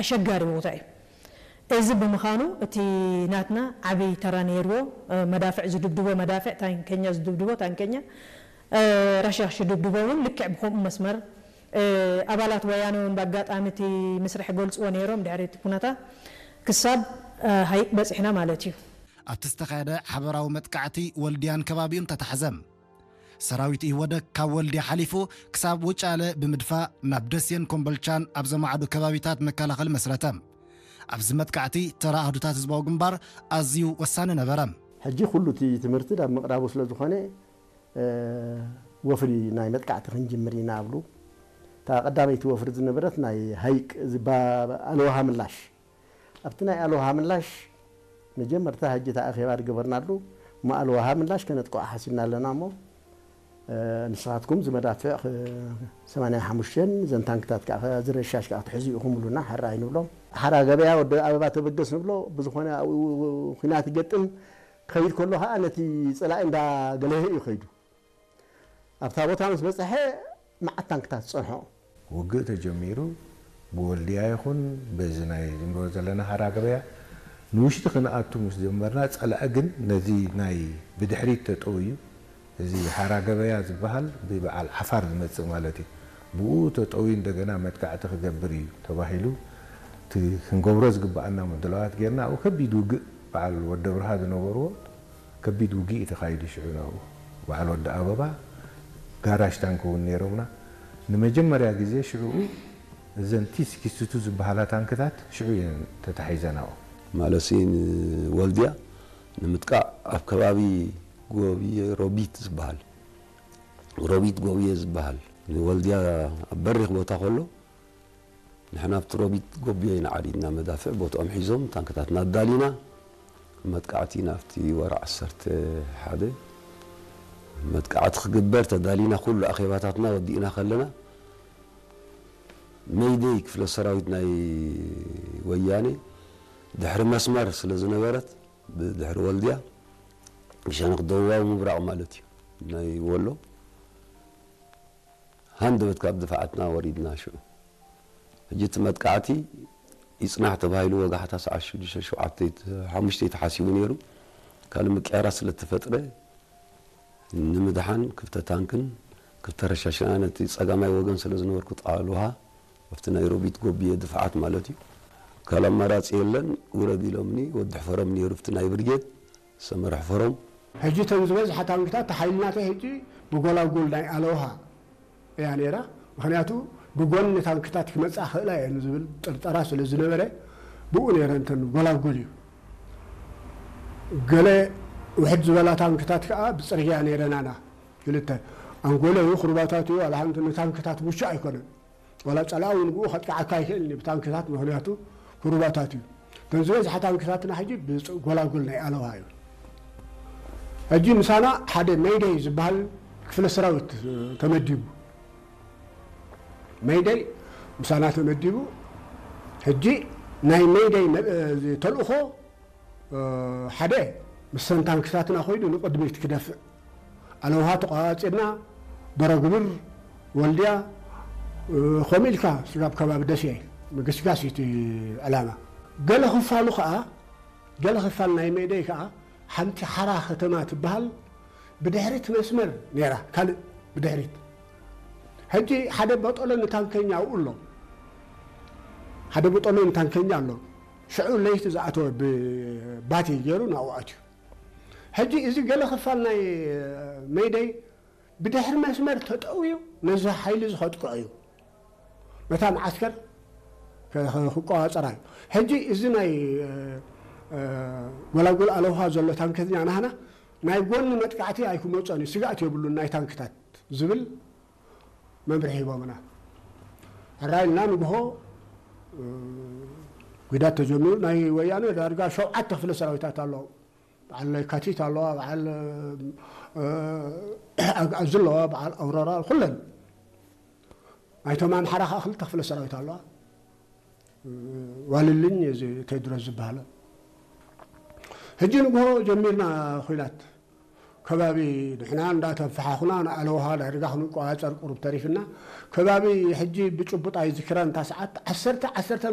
ኣሸጋሪ ቦታ እዩ። እዚ ብምዃኑ እቲ ናትና ዓብይ ተራ ነይርዎ። መዳፍዕ ዝድብድቦ መዳፍዕ፣ ታንከኛ ዝድብድቦ ታንከኛ፣ ረሻሽ ዝድብድቦ እውን ልክዕ ብከምኡ መስመር። ኣባላት ወያነ እውን ብኣጋጣሚ እቲ ምስርሕ ገልፅዎ ነይሮም። ድሕሪ እቲ ኩነታ ክሳብ ሃይቅ በፂሕና ማለት እዩ። ኣብቲ ዝተኻየደ ሓበራዊ መጥቃዕቲ ወልድያን ከባቢኡን ተታሕዘ። ሰራዊት ኢህወደግ ካብ ወልድያ ሓሊፉ ክሳብ ውጫለ ብምድፋእ ናብ ደሴን ኮምቦልቻን ኣብ ዘማዕዱ ከባቢታት መከላኸሊ መስረተ። ኣብዚ መጥቃዕቲ ተራ ኣህዱታት ህዝባዊ ግንባር ኣዝዩ ወሳኒ ነበረ። ሕጂ ኩሉ እቲ ትምህርቲ ናብ ምቕራቡ ስለ ዝኾነ ወፍሪ ናይ መጥቃዕቲ ክንጅምር ኢና ኣብሉ። እታ ቀዳመይቲ ወፍሪ ዝነበረት ናይ ሃይቅ ኣለውሃ ምላሽ ኣብቲ ናይ ኣለውሃ ምላሽ መጀመርታ ሕጂ እታ ኣኼባ ዝገበርናሉ እሞ ኣለውሃ ምላሽ ከነጥቅዖ ሓሲብና ኣለና እሞ ንስኻትኩም ዝመዳፍዕ ሰማንያ ሓሙሽተ ዘን ታንክታት ከዓ ዝረሻሽ ከዓ ክትሕዙ ኢኹም ብሉና ሓራ ኣይንብሎም። ሓራ ገበያ ወዲ ኣበባ ተበገስ ንብሎ ብዝኾነ ኣብኡ ኩናት ይገጥም ክኸይድ ከሎ ከዓ ነቲ ፀላኢ እንዳገለሀ እዩ ከይዱ ኣብታ ቦታ ምስ በፅሐ መዓት ታንክታት ዝፀንሖ። ውግእ ተጀሚሩ ብወልድያ ይኹን በዚ ናይ ዝንበሮ ዘለና ሓራ ገበያ ንውሽጢ ክንኣቱ ምስ ጀመርና ፀላኢ ግን ነዚ ናይ ብድሕሪት ተጠውዩ እዚ ሓራ ገበያ ዝበሃል ብበዓል ዓፋር ዝመፅእ ማለት እዩ ብኡ ተጠውዩ እንደገና መጥቃዕቲ ክገብር እዩ ተባሂሉ እቲ ክንገብሮ ዝግበኣና ምድላዋት ጌርና ኣብኡ ከቢድ ውግእ በዓል ወዲ ኣብርሃ ዝነበርዎ ከቢድ ውግእ እዩ ተኻይዱ ሽዑ ናብኡ በዓል ወዲ ኣበባ ጋራሽ ታንክ እውን ነይሮምና ንመጀመርያ ግዜ ሽዑኡ እዘን ቲ ሲክስቲ ቱ ዝበሃላ ታንክታት ሽዑ እየን ተታሒዘን ኣብኡ። ማለሲ ንወልድያ ንምጥቃዕ ኣብ ከባቢ ጎብየ ሮቢት ዝበሃል ሮቢት ጎብየ ዝበሃል ንወልድያ ኣብ በሪኽ ቦታ ከሎ ንሕና ኣብቲ ሮቢት ጎብየ ኢና ዓሪድና መዳፍዕ ቦትኦም ሒዞም ታንክታትና ኣዳሊና መጥቃዕቲ ናብቲ ወርሒ ዓሰርተ ሓደ መጥቃዕቲ ክግበር ተዳሊና ኩሉ ኣኼባታትና ወዲእና ከለና መይደይ ክፍለ ሰራዊት ናይ ወያኔ ድሕሪ መስመር ስለ ዝነበረት ብድሕሪ ወልድያ ብሸነኽ ደቡባዊ ምብራቕ ማለት እዩ ናይ ወሎ ሃንደበት ካብ ድፍዓትና ወሪድና ሽዑ ሕጂ እቲ መጥቃዕቲ ይፅናሕ ተባሂሉ ወጋሕታ ሰዓት ሽዱሽተ ሸውዓተ ሓሙሽተ ተሓሲቡ ነይሩ ካልእ ምቅያራት ስለ ተፈጥረ ንምድሓን ክፍተ ታንክን ክፍተ ረሻሽና ነቲ ፀጋማይ ወገን ስለ ዝነበርኩ ጣል ውሃ ኣብቲ ናይ ሮቢት ጎብየ ድፍዓት ማለት እዩ ካልእ ኣማራፂ የለን ውረድ ኢሎምኒ ወዲ ሕፈሮም ነይሩ ኣብቲ ናይ ብርጌድ ሰመረ ሕፈሮም ሕጂ እተን ዝበዝሓ ታንክታት ሓይልናተይ ሕጂ ብጎላጉል ናይ ኣለውሃ እያ ነይራ። ምኽንያቱ ብጎኒ ታንክታት ክመጻ ክእላ እየን ዝብል ጥርጠራ ስለ ዝነበረ ብኡ ነይረን እተን ጎላጉል እዩ። ገለ ውሕድ ዝበላ ታንክታት ከኣ ብጽርግያ ነይረናና። ክልተ ኣንጎለ እዩ፣ ክሩባታት እዩ፣ ዋላ ሓንቲ ንታንክታት ምቹእ ኣይኮነን። ዋላ ጸላኢ እውን ብኡ ከጥቅዓካ ኣይክእልን እዩ ብታንክታት፣ ምኽንያቱ ክሩባታት እዩ። እተን ዝበዝሓ ታንክታትና ሕጂ ብጎላጉል ናይ ኣለዋ እዩ። ሕጂ ምሳና ሓደ መይደይ ዝበሃል ክፍለ ሰራዊት ተመዲቡ። መይደይ ምሳና ተመዲቡ። ሕጂ ናይ መይደይ ተልእኾ ሓደ ምስተን ታንክታትና ኮይኑ ንቅድሚት ክደፍእ ኣለውሃ ተቋፂርና በረግብር ወልድያ ከምኡ ኢልካ ስጋብ ከባቢ ደሴ ምግስጋስ እቲ ዕላማ ገለ ክፋሉ ከዓ ገለ ክፋል ናይ መይደይ ከዓ ሓንቲ ሓራ ከተማ ትበሃል ብድሕሪት መስመር ነይራ ካልእ ብድሕሪት ሕጂ ሓደ በጠሎ ንታንከኛ ኣብኡ ኣሎ ሓደ በጠሎ ንታንከኛ ኣሎ ሽዑ ለይቲ ዝኣተወ ብባቲ ገይሩ ናብኡ ኣትዩ ሕጂ እዚ ገለ ክፋል ናይ መይደይ ብድሕሪ መስመር ተጠውዩ ነዚ ሓይሊ እዚ ከጥቅዖ እዩ ነታ መዓስከር ክቆፃፀራ እዩ ሕጂ እዚ ናይ ጎላጉል ኣለውሃ ዘሎ ታንከኛ ናህና ናይ ጎኒ መጥቃዕቲ ኣይክመፆን እዩ ስጋእት የብሉን ናይ ታንክታት ዝብል መምርሒ ሂቦምና ሕራይ ኢልና ንግሆ ጉዳት ተጀሚሩ ናይ ወያነ ዳርጋ ሸውዓተ ክፍለ ሰራዊታት ኣለዎም በዓል ለካቲት ኣለዋ በዓል ኣግኣዚ ኣለዋ በዓል ኣውሮራ ኩለን ናይቶም ኣምሓራ ከዓ ክልተ ክፍለ ሰራዊት ኣለዋ ዋልልኝ እዚ ቴድሮስ ዝበሃለ ሕጂ ንግሆ ጀሚርና ኩናት ከባቢ ንሕና እንዳተፈሓኹና ንኣለውሃ ዳርጋ ክንቆፃፀር ቁሩብ ተሪፍና ከባቢ ሕጂ ብጭቡጥ ኣይዝክረን እታ ሰዓት ዓሰርተ ዓሰርተ